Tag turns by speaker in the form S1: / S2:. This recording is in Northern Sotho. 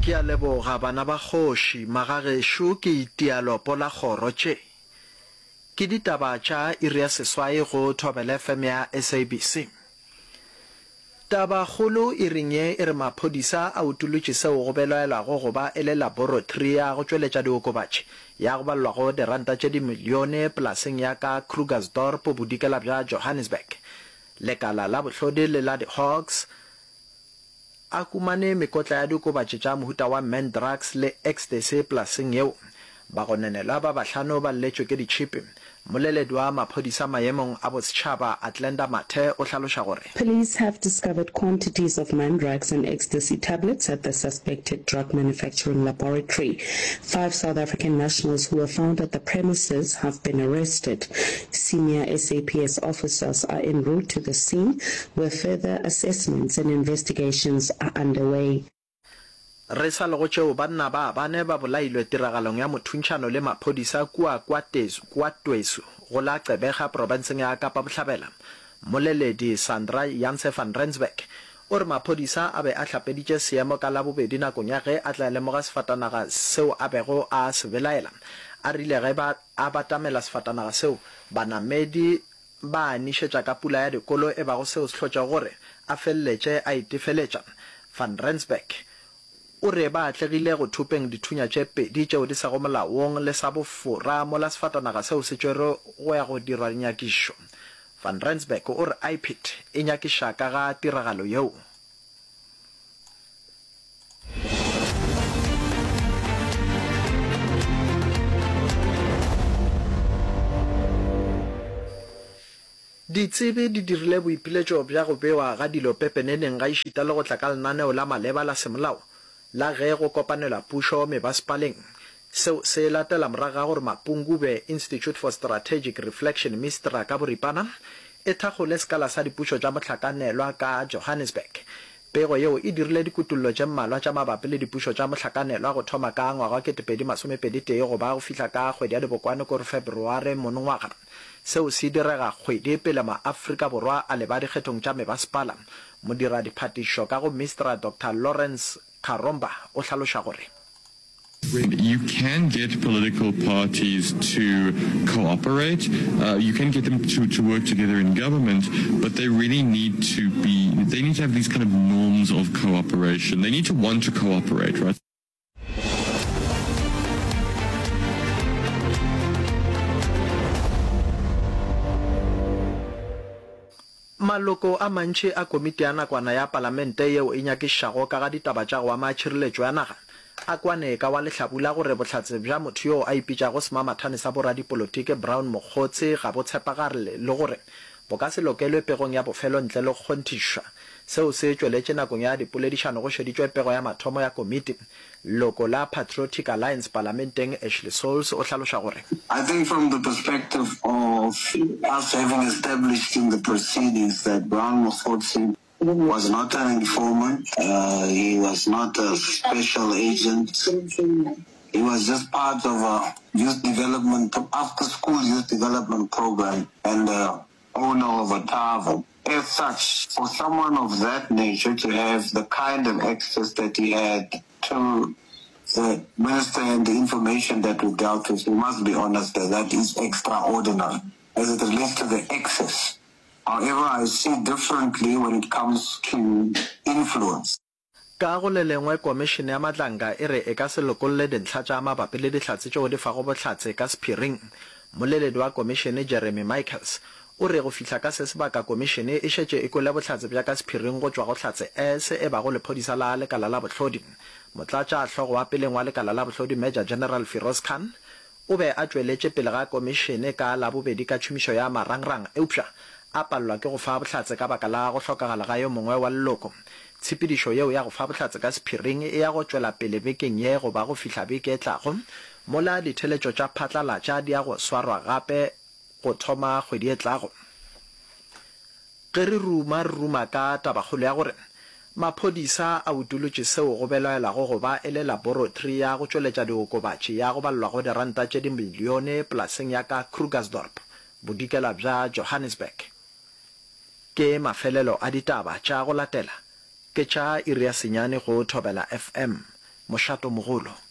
S1: Ke a leboga bana ba kgoši, magagešo ke itia lopo la kgoro tše. Ke ditaba tša iri ya seswai go Thobela FM ya SABC. Tabakgolo iring ye e re maphodisa a utolotše seo go belaelwago go ba e le laboratory ya go tšweletša diokobatši ya go balelwago diranta tše dimilione polaseng ya ka Krugersdorp bodikela bja Johannesburg. Lekala la bohlodi le la di-Hawks a humane mekotla ya diokobatši tša mohuta wa Mandrax le Ecstasy polaseng yeo. Bagononelwa ba bahlano ba lletšwe ke ditšhipi. Mmoleledi wa maphodisa maemong a bosetšhaba, Athlenda Mathe o hlaloša gore.
S2: Police have discovered quantities of Mandrax and Ecstasy tablets at the suspected drug manufacturing laboratory. Five South African nationals who were found at the premises have been arrested. Senior SAPS officers are en route to the scene where further assessments and investigations are underway.
S1: Re sa le go tšeo, banna ba bane ba bolailwe tiragalong ya mothuntšhano le maphodisa kua Kwa-Twesu go la Gqeberha profenseng ya Kapa Bohlabela. Mmoleledi Sandra Janse van Rensburg o re maphodisa a be a hlapeditše seemo ka Labobedi nakong ya ge a tla lemoga sefatanaga seo a bego a se belaela. A rile ge ba a batamela sefatanaga seo, banamedi Ba a nišetša ka pula ya dikolo e bago seo se hlotšego gore a feleletše a itefeletša. Van Rensburg o re ba atlegile go thopeng dithunya tše pedi tšeo di sego molaong le sa bofora mola sefatanaga seo se tšwerwe go ya go dirwa dinyakišišo. Van Rensburg o re IPID e nyakiša ka ga tiragalo yeo. Ditsebi di dirile boipiletšo bja go bewa ga dilo pepeneneng gaešita le go tla ka lenaneo la maleba la semolao la ge go kopanelwa pušo mebasepaleng. Seo se latela morago ga gore Mapungubwe Institute for Strategic Reflection, MISTRA ka boripana, e thakgole sekala sa dipušo tša mohlakanelwa ka Johannesburg. Pego yeo e dirile dikutollo tše mmalwa tša mabapi le dipušo tša mohlakanelwa go thoma ka ngwaga wa 2021 go ba go fihla ka kgwedi ya Dibokwane kore Feberware monongwaga. Seo se direga kgwedi pele maAfrika Borwa a leba dikgethong tša mebasepala. Modiradiphatišišo ka go MISTRA Doctor Lawrence Karomba o hlaloša gore.
S3: You can get political parties to cooperate, uh, you can get them to, to work together in government, but they really need to be, they need to have these kind of norms of cooperation. They need to want to cooperate, right?
S1: Maloko a mantši a komiti ya nakwana ya palamente yeo e nyakišišago ka ga ditaba tša go ama tšhireletšo ya naga a kwane ka wa lehlabula gore bohlatse bja motho yoo a ipitšago semamathane sa boradipolotiki Brown Mogotsi ga bo tshepagarle le gore bo ka se lokelwe pegong ya bofelo ntle le go kgonthišwa. Seo se tšweletše nakong ya dipoledišano go šeditšwe pego ya mathomo ya komiti. Leloko la Patriotic Alliance palamenteng Ashley Sauls o hlaloša gore.
S4: I think from the perspective of us having established in the proceedings that Brown Mogotsi was not an informant, he was not a special agent, he was just part of a youth development, after school youth development program and the owner of a tavern. As such, for someone of that nature to have the kind of access that he had to the minister and the information that we dealt with, we must be honest that that is extraordinary as it relates to the access. However, I see differently when it comes to influence.
S1: Ka go le lengwe, Komišene ya Madlanga e re e ka se lokolle dintlha tša mabapi le dihlatse tšeo di fago bohlatse ka sephiring. Mmoleledi wa komišene Jeremy Michaels o re go fihla ka se sebaka komišene e šetše e kwele bohlatse bja ka sephiring go tšwa go Hlatse S e bago lephodisa la lekala la bohlodi. Motlatšahlogo wa peleng wa lekala la bohlodi Major General Firoz Khan O be a tšweletše pele ga komišene ka Labobedi ka tšhomišo ya marangrang eupša a palelwa ke go fa bohlatse ka baka la go hlokagala ga yo mongwe wa leloko. Tshepedišo yeo ya go fa bohlatse ka sephiring e ya go tšwela pele bekeng ye go ba go fihla beke e tlago, mola ditheletšo tša phatlalatša di ya go swarwa gape go thoma kgwedi e tlago. Ge re ruma, re ruma ka tabakgolo ya gore maphodisa a utolotše seo go belaelwago go ba e le laboratory ya go tšweletša diokobatši ya go balelwago diranta tše dimilione polaseng ya ka Krugersdorp, bodikela bja Johannesburg. Ke mafelelo a ditaba tša go latela ke tša iri ya senyane go Thobela FM. Mošatomogolo.